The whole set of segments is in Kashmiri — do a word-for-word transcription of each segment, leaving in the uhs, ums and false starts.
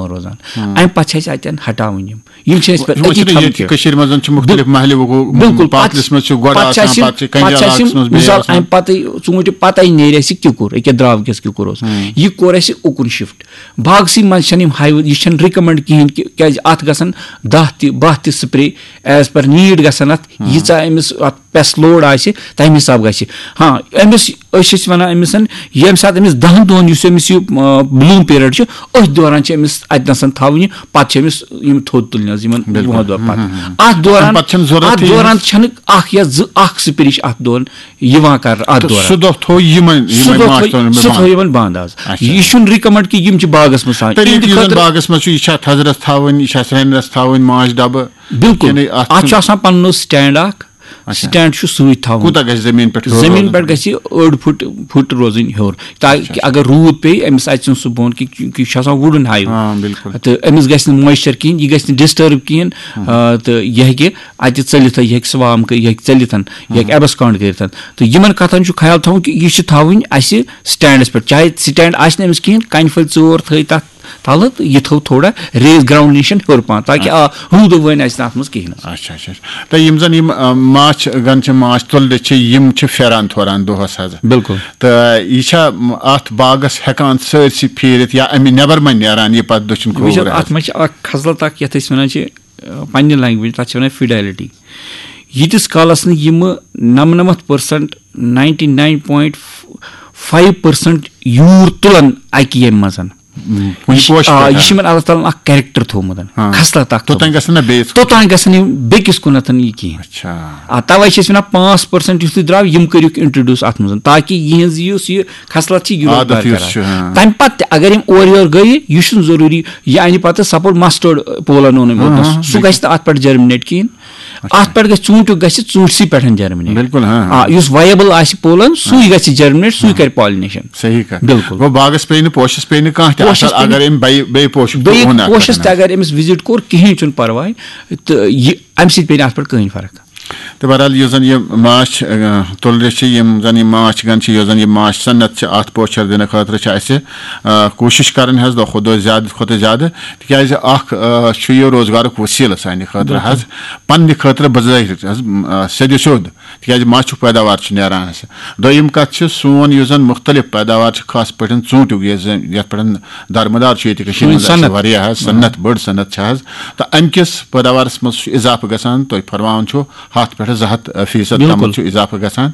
روزان۔ امہِ پتہٕ چھِ اَسہِ اَتٮ۪ن ہٹاوٕنۍ یِم۔ یِم چھِ اَسہِ پَتہٕ یِمن أتی چھِنہٕ تھاونہٕ ییٚتہِ کینٛہہ۔ کٔشیٖرِ منٛز چھِ مُختٔلِف بِل- محلہِ وقوٗع، بِلکُل۔ پَتہٕ پاتلِس چھِ- منٛز چھِ گۄڈٕ پَتہٕ چھِ اَسہِ آسان، یِم، پَتہٕ چھِ کنجا پَتہٕ چھِ اَسہِ علاقَس یِم، منٛز بیٚیہِ مِثال، آسان۔ اَمہِ پَتَے ژوٗنٛٹھۍ پَتَے نیرِ اَسہِ کِکُر، أکیٛاہ درٛاو کِس کِکُر اوس۔ یہِ کوٚر اَسہِ اُکُن شِفٹ۔ باغسٕے منٛز چھَنہٕ یِم ہاے، یہِ چھَنہٕ رِکَمنٛڈ کِہیٖنۍ کہِ کیٛازِ اَتھ گژھن دَہ تہِ، باہ تہِ spray as per need گژھن اَتھ، ییٖژاہ أمِس اَتھ pest load آسہِ، تَمہِ حساب گژھِ۔ ہاں، أمِس، أسۍ چھِ أسۍ وَنان أمِس، ییٚمہِ ساتہٕ أمِس دَہَن دۄہَن یُس أمِس یہِ، آ، bloom period چھُ، أتھۍ دوران چھِ أمِس اَتہِ نَسَن تھاوٕنۍ یہِ، پَتہٕ چھِ أمِس یِم تھوٚد تُلنہِ حظ یِمَن وُہَن دۄہَن پَتہٕ۔ اَتھ دوران، پَتہٕ چھَنہٕ ضروٗرت اَتھ یہِ دوران چھَنہٕ اَکھ یا زٕ، اَکھ spray چھِ اَتھ دوران یِوان کَرنہٕ اَتھ دوران۔ سُہ دۄہ تھوٚو یِمَن، سُہ یِمَن دۄہ ماچھ تھوٚو، تُلُن سُہ بنٛد۔ تھوٚو یِمَن بنٛد آز۔ اچھا۔ یہِ چھُنہٕ recommend کہِ یِم چھِ باغَس منٛز تھاوٕنۍ۔ طریٖقہٕ یِہِنٛدِ یُس زَن خٲطرٕ باغَس منٛز چھُ، یہِ چھا تھزرَس تھاوٕنۍ، یہِ چھا سرٛنٮ۪س تھاوٕنۍ ماچھ ڈَبہٕ؟ بِلکُل۔ کِنہٕ اَتھ اَتھ چھُ چھُنہٕ آسان پَنُن stand اَکھ، اچھا۔ stand چھُ سۭتۍ تھاوُن۔ کوٗتاہ گژھِ زٔمیٖن پٮ۪ٹھ ہیوٚر زٔمیٖن روزُن؟ پٮ۪ٹھ گژھِ أڑ فُٹ، فُٹ روزٕنۍ ہیوٚر، تاکہِ اگر روٗد پیٚیہِ، أمِس اَژِ نہٕ سُہ بۄن کہِ، کیونکہِ یہِ چھُ آسان wooden hive۔ آ، بِلکُل۔ تہٕ أمِس گژھِ نہٕ moisture کِہیٖنۍ، یہِ گژھِ نہٕ disturb کِہیٖنۍ، آ، تہٕ یہِ ہیٚکہِ اَتہِ ژٔلِتھ، یہِ ہیٚکہِ swarm کٔرِتھ، یہِ ہیٚکہِ ژٔلِتھ، یہِ ہیٚکہِ abscond کٔرِتھ۔ تہٕ یِمن کَتھن چھُ خیال تھاوُن کہِ یہِ چھِ تھاوٕنۍ اَسہِ standس پٮ۪ٹھ، چاہے stand آسہِ نہٕ أمِس کِہیٖنۍ، کَنہِ پھٔلۍ ژور تھٲوِتھ تَتھ تَلہٕ، تہٕ یہِ تھٲو تھوڑا raise ground نِش ہیوٚر پَہَن، تاکہِ آ، روٗدٕ وٲنۍ آسہِ نہٕ اَتھ منٛز کِہیٖنۍ حظ۔ اچھا، اچھا، اچھا۔ تہٕ یِم زَن یِم، آ، ماچھ گَن چھِ، ماچھ تُلرِ چھِ، یِم چھِ پھیران تھوران دۄہَس حظ۔ بِلکُل۔ تہٕ یہِ چھا، م، اَتھ باغَس ہٮ۪کان سٲرسٕے پھیٖرِتھ یا اَمہِ نٮ۪بر ما نیران یہِ پَتہٕ دٔچھُن کھووُر وٕچھ حظ، حظ؟ اَتھ منٛز چھِ اَکھ خصلت اَکھ، یَتھ أسۍ وَنان چھِ، آ، پنٛنہِ language، تَتھ چھِ وَنان fidelity۔ ییٖتِس کالَس نہٕ یِمہٕ نَمنَمَتھ percent، ninety nine point five percent یوٗر تُلَن اَکہِ ییٚمہِ منٛز۔ کُنہِ یہِ چھِ، پوشہِ آ، پٮ۪ٹھ، یہِ آ۔ چھِ یِمَن اللہ تعالیٰ ہَن اَکھ character تھوٚومُت، ہاں۔ خصلت اَکھ توٚتام تھوٚومُت۔ گژھن نہٕ بیٚیِس توٚتام گژھن یِم بیٚکِس کُنَتھ یہِ کِہیٖنۍ۔ اچھا۔ آ، تَوَے چھِ أسۍ وَنان پانٛژھ percent یُس تُہۍ درٛاو، یِم کٔرِکھ introduce اَتھ منٛز، تاکہِ یِہِنٛز یُس یہِ خصلت چھِ، یہِ روزِ عادت یُس برقرار۔ چھُ، ہاں۔ تَمہِ پَتہٕ تہِ اگر یِم اورٕ یورٕ گٔیہِ، یہِ چھُنہٕ ضروٗری یہِ اَنہِ پَتہٕ suppose mustard pollen اوٚن أمۍ اوٚتنَس، سُہ گژھِ نہٕ اَتھ پٮ۪ٹھ germinate کِہیٖنۍ۔ اَتھ پٮ۪ٹھ گژھِ ژوٗنٛٹھیُک گژھِ ژوٗنٛٹھسٕے پٮ۪ٹھ germinate۔ بِلکُل، ہاں، ہاں۔ آ، یُس viable آسہِ pollen، سُے گژھِ germinate، سُے کَرِ pollination۔ صحیح کَتھ۔ بِلکُل۔ گوٚو باغَس پیٚیہِ نہٕ، پوشَس پیٚیہِ نہٕ کانٛہہ تہِ پوشَس اثر، پیٚیہِ نہٕ۔ اگر أمۍ بیٚیہِ، بیٚیہِ پوشُک تہِ بیٚیہِ اوٚن اَتھ پوشَس پٮ۪ٹھ۔ تہِ اگر أمِس visit کوٚر، کِہیٖنۍ چھُنہٕ پَرواے، تہٕ یہِ، اَمہِ سۭتۍ پیٚیہِ نہٕ اَتھ پٮ۪ٹھ کٕہٕنۍ فرق۔ تہٕ بہرحال، یُس زَن یہِ ماچھ، آ، تُلرِ چھِ، یِم زَن یہِ ماچھ گَن چھِ، یُس زَن یہِ ماچھ صنعت چھِ، اَتھ پوچھر دِنہٕ خٲطرٕ چھِ اَسہِ، آ، کوٗشِش کَرٕنۍ حظ دۄہ کھۄتہٕ دۄہ زیادٕ کھۄتہٕ زیادٕ، تِکیٛازِ اَکھ، آ، چھُ یہِ روزگارُک وسیٖلہٕ سانہِ خٲطرٕ حظ، پنٛنہِ خٲطرٕ بظٲہِر حظ، آ، سیٚدِ سیوٚد، تِکیٛازِ ماچھُک پیداوار چھُ نیران اَسہِ۔ دوٚیِم کَتھ چھِ، سون یُس زَن مُختلف پیداوار چھِ، خاص پٲٹھۍ ژوٗنٛٹھیُک، یُس زَن، یَتھ پٮ۪ٹھ درمدار چھُ ییٚتہِ کٔشیٖرِ سٲنۍ منٛز اَسہِ صنعت۔ واریاہ حظ، صنعت، بٔڑ صنعت چھِ حظ، تہٕ اَمہِ کِس پیداوارَس منٛز چھُ اضافہٕ گژھان، تۄہہِ فرماوان چھُ، ہَتھ پٮ۪ٹھ زٕ ہَتھ فیٖصد بِلکُل۔ تامَتھ چھُ اضافہٕ گژھان۔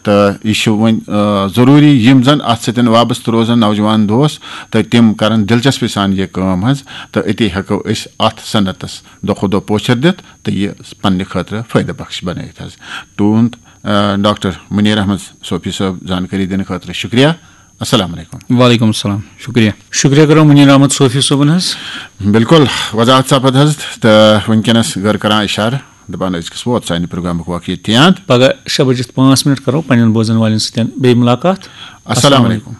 تہٕ یہِ چھُ وۄنۍ، آ، ضروٗری یِم زَن اَتھ سۭتۍ وابستہٕ روزَن نوجوان دوست، تہٕ تِم کَرَن دِلچسپی سان یہِ کٲم حظ، تہٕ أتی ہٮ۪کو أسۍ اَتھ صنعتَس دۄہ کھۄتہٕ دۄہ پوچھر دِتھ تہٕ یہِ پنٛنہِ خٲطرٕ فٲیدٕ بخش بنٲیِتھ حظ۔ تُہُنٛد، آ، ڈاکٹر مُنیٖر احمد صوفی صٲب زانکٲری دِنہٕ خٲطرٕ شُکریہ۔ السلام علیکم۔ وعلیکم السلام، شُکریہ۔ شُکریہ کرو مُنیٖر احمد صوفی صٲبُن حظ۔ بِلکُل، وضاحت سپد حظ، تہٕ وٕنکیٚنَس گٔر کران اِشارٕ، دَپان أزکِس ووت سانہِ پروگرامُک وقت ییٚتہِ تام۔ پگاہ شےٚ بجِتھ پانٛژھ منٹ کرو پننٮ۪ن بوزن والٮ۪ن سۭتۍ بیٚیہِ مُلاقات۔ السلام علیکم۔